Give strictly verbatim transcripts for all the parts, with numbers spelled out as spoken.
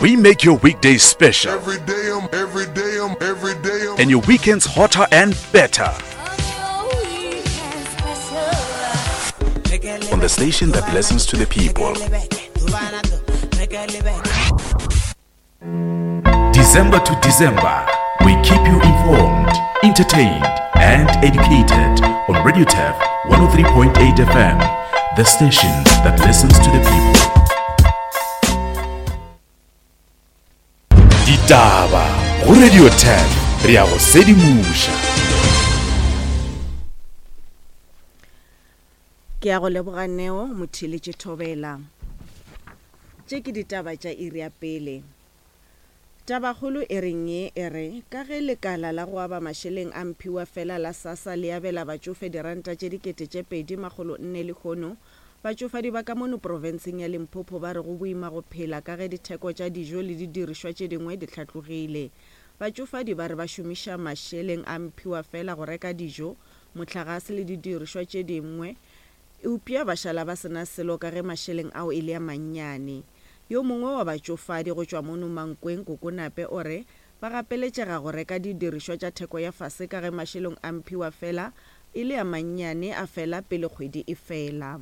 We make your weekdays special. Every day I'm, every day I'm, every day I'm. And your weekends hotter and better. On the station that listens to the people. December to December, we keep you informed, entertained, and educated on Radio Turf one oh three point eight F M, the station that listens to the people. Ditaba go Radio Turf, re a go sedimoša. Ke a go leboga Neo Motheletše Thobela. Tše ke ditaba tša iri ya pele. Tabakgolo e reng ye e re ka ge lekala la go aba mašeleng a mphiwa fela la SASSA le abela batšofe diranta tše dikete tše pedi makgolo nne lehono, batšofadi ba ka mono profenseng ya Limpopo ba re go boima go phela ka ge ditheko tša dijo le didirišwa tše dingwe di hlatlogile. Batšofadi ba re ba šomiša mašeleng a mphiwa fela go reka dijo, mohlagase le didirišwa tše dingwe, eupša ba šala ba sena selo ka ge mašeleng ao e le a mannyane. Yo mongwe wa batšofadi go tšwa mono Mankweng Kokonape o re ba gapeletšega go reka didirišwa tša theko ya fase ka ge mašeleng a mphiwa fela e le a mannyane a fela pele kgwedi e fela.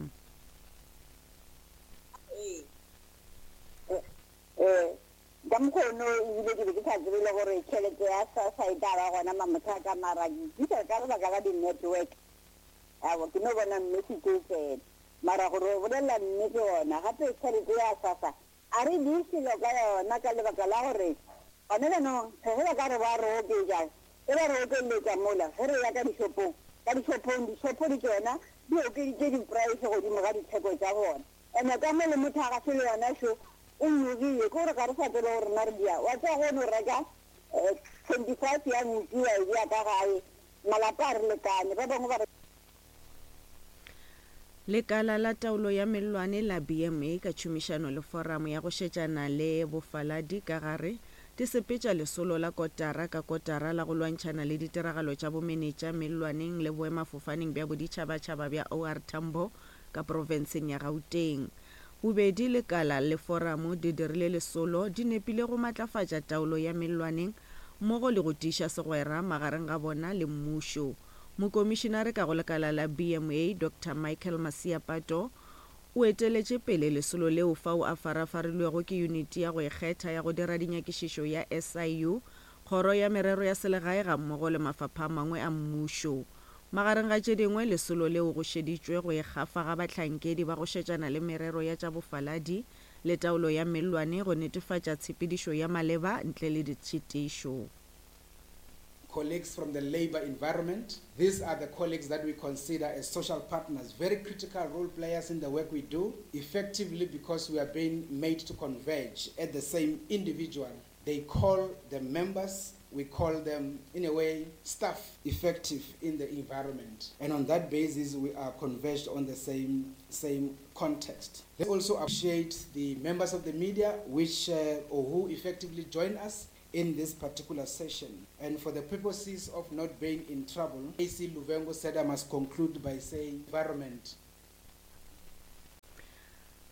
Ka mokgono ebile ke be ke sa tsebe le gore tšhelete ya SASSA e tla ba gona mamothaka, mara ke itse ka lebaka la di-network. Aowa, ke no bona message e tsena. Mara gore o bolela nnete gona, gape tšhelete ya SASSA a re di selo ka yona ka lebaka la gore gone jaanong ge ba ka re ba re oketša, ge ba re okeletša mola, ge re ya ka dishopong, ka dishopong, dishopo di tšona di okeditše di-price godimo ga ditheko tša bona. Ene ka mo le mohlagase le yona šo o nyogile, ke gore ga re sa tsebe gore rena re dia. Wa tseba go no reka, eh, twenty-five ya nku wa e bea ka gae, malapa a re lekane, ba bangwe ba re Lekala la taolo ya mellwane la B M A ka tšhomišano le foramo ya go šetšana le bofaladi ka gare di sepetša lesolo la kotara ka kotara la go lwantšhana le ditiragalo tša bomenetša mellwaneng le boemafofaneng bja boditšhabatšhaba bja O R Tambo ka profenseng ya Gauteng. Bobedi lekala le foramo di dirile lesolo di nepile go matlafatša taolo ya mellwaneng mmogo le go tiiša segwera magareng ga bona le mmušo. Mokomišinare ka go lekala la B M A Doctor Michael Masiapato o eteletše pele lesolo leo fao a farafarilwego ke yuniti ya go ikgetha ya go dira dinyakišišo ya S I U, kgoro ya merero ya selegae ga mmogo le mafapha a mangwe a mmušo. Magareng ga tše dingwe lesolo leo go šeditšwe go ikgafa ga bahlankedi ba go šetšana le merero ya tša bofaladi le taolo ya mellwane go netefatša tshepedišo ya maleba ntle le ditšhitišo. Colleagues from the labor environment. These are the colleagues that we consider as social partners, very critical role players in the work we do, effectively because we are being made to converge at the same individual. They call the members, we call them, in a way, staff effective in the environment. And on that basis, we are converged on the same, same context. They also appreciate the members of the media which, uh, or who effectively join us in this particular session. And for the purposes of not being in trouble, A C Luvhengo said I must conclude by saying environment.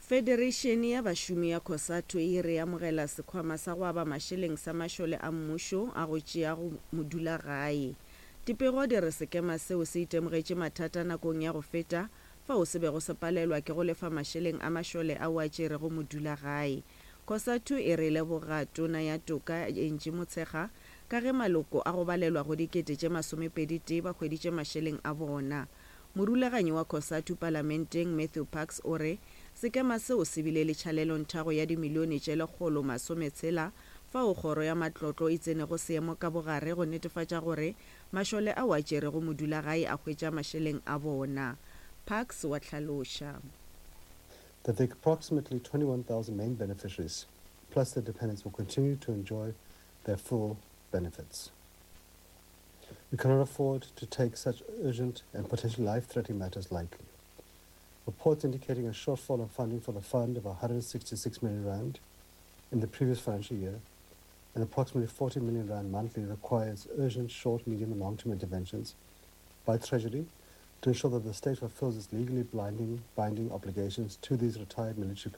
Federation ya bašomi ya COSATU e re amogela sekhwama sa go aba mašeleng sa mašole a mmušo a go tšea go modula gae. Dipego di re sekema seo se itemogetše mathata nakong ya go feta fao se bego se palelwa ke go lefa mašeleng a mašole ao a tšerego modula gae. COSATU e re leboga tona ya toka Angie Motshekga ka ge maloko a go balelwa go dikete tše masomepedi tee ba hweditše mašeleng a bona. Morulaganyi wa COSATU palamenteng Matthew Parks o re sekema seo se bile le tšhalelonthago ya dimilione tše lekgolo masometshela fao kgoro ya matlotlo e tsenego seemo ka bogare go netefatša gore mašole ao a tšerego modulagae a hwetša mašeleng a bona. Parks wa hlaloša that the approximately twenty-one thousand main beneficiaries plus their dependents will continue to enjoy their full benefits. We cannot afford to take such urgent and potentially life-threatening matters lightly. Reports indicating a shortfall of funding for the fund of a hundred sixty-six million rand in the previous financial year and approximately forty million rand monthly requires urgent short, medium and long-term interventions by Treasury to ensure that the state fulfills its legally blinding, binding obligations to these retired military.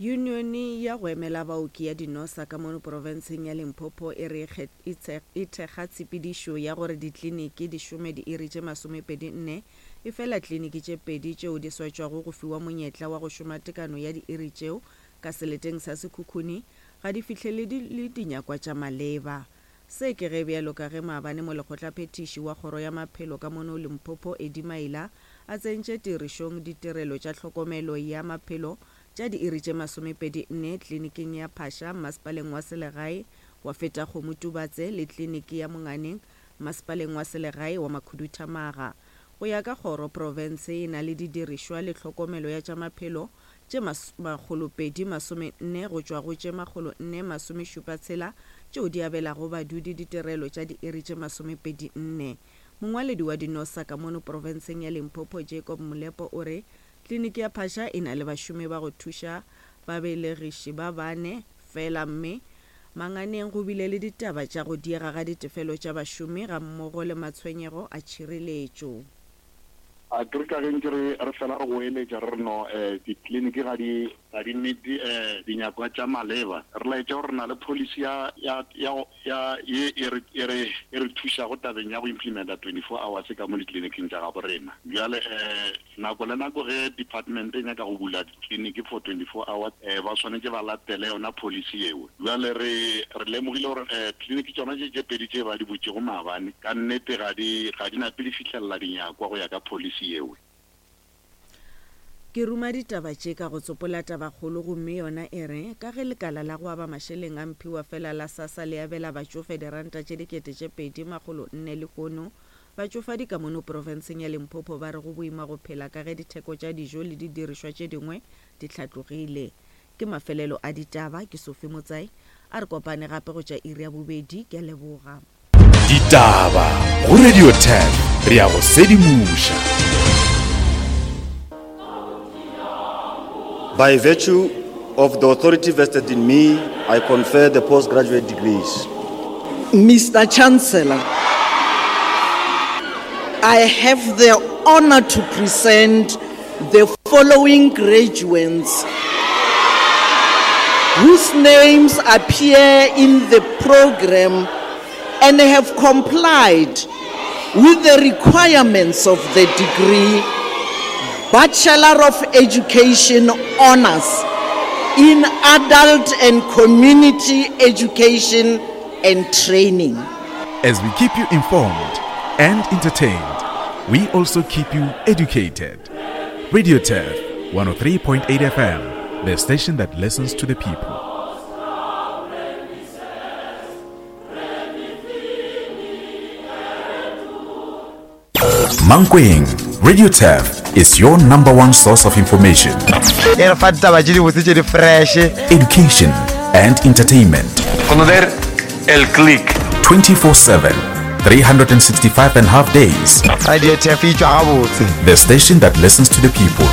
Yunione ya go emela baoki ya Dinosa ka mono profenseng ya Limpopo e re e thekga tshepedišo ya gore dikliniki di šome diiri tše masomepedi nne, efela kliniki tše pedi tšeo di swetšwago go fiwa monyetla wa go šoma tekano ya diiri tšeo ka seleteng sa Sekhukhune ga di fihlelele dinyakwa tša maleba. Se ke ge bjalo ka ge maabane molekgotlaphethiši wa kgoro ya maphelo ka mono Limpopo Eddie Maila a tsentše tirišong ditirelo tša tlhokomelo ya maphelo tša diiri tše masomepedi nne kliniking ya Phasha mmasepaleng wa selegae wa Fetakgomo Tubatse le kliniki ya Monganeng mmasepaleng wa selegae wa Makhuduthamaga. Go ya ka kgoro, profense e na le didirišwa le tlhokomelo ya tša maphelo tše makgolopedi masomenne go tšwa go tše makgolo nne masomešupa tshela tšeo di abelago badudi ditirelo tša diiri tše masomepedi nne. Mongwaledi wa Dinosa ka mono profenseng ya Limpopo Jacob Molepo o re kliniki ya Phasha e na le bašomi ba go thuša babelegiši ba bane fela mme Manganeng go bile le ditaba tša go diega ga ditefelo tša bašomi gammogo le matshwenyego a tšhireletšo. A ke re ka ge ntše re re fela re goeletša re re no um ditleliniki ga di ga di meet-e um dinyakwa tša maleba, re laetša gore re na le policy ya ya ya ya ye e re e re e re thušago tabeng ya go implementa twenty four hours ka mo ditleliniking tša gabo rena. Bjale um nako le nako ge department e nyaka go bula ditleliniki for twenty four hours um ba swanetše ba latele yona policy yeo. Bjale re re lemogile gore um tleliniki tšona tše tše pedi tše ba di butšego maabane ka nnete ga di ga di nape di fihlelela dinyakwa go ya ka policy yeo. Ke ruma ditaba tše ka go tsopola tabakgolo gomme yona e re, ka ge lekala la go aba mašeleng a mphiwa fela la SASSA le abela batšofe diranta tše dikete tše pedi makgolo nne lehono, batšofadi ka mono profenseng ya Limpopo ba re go boima go phela ka ge ditheko tša dijo le didirišwa tše dingwe di hlatlogile. Ke mafelelo a ditaba, ke Sophie Motsai, a re kopane gape go tša iri ya bobedi, ke a leboga. Ditaba go Radio ten, re a go sedimoša. By virtue of the authority vested in me, I confer the postgraduate degrees. Mister Chancellor, I have the honor to present the following graduates whose names appear in the program and have complied with the requirements of the degree Bachelor of Education Honors in Adult and Community Education and Training. As we keep you informed and entertained, we also keep you educated. Radio Turf one oh three point eight F M, the station that listens to the people. Mankweng, Radio Turf is your number one source of information, education and entertainment. El click. twenty-four seven, three hundred sixty-five and a half days. Radio Turf e tšwa gabotse. The station that listens to the people.